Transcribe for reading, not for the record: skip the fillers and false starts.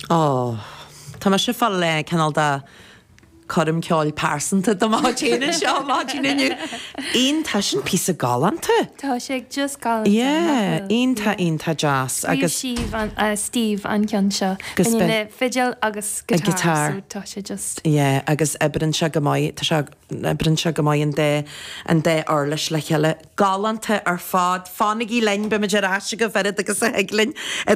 Ó, tá mise ag fáil cineál de coirm ceoil pearsanta do mo chuid féin anseo maidin inniu. Iontach, sin píosa galánta. Tá sé just galánta. Yeah, iontach, iontach deas. Agus Steve an, Steve an ceann seo. Agus Baineann le fidil agus guitar, so tá sé just. Yeah, agus oibreann sé go maith, tá sé, oibreann sé go maith an dá, an dá uirlis le chéile. Galánta ar fad. Fanaigí linn, beimid ar ais agaibh oiread agus a thig linn.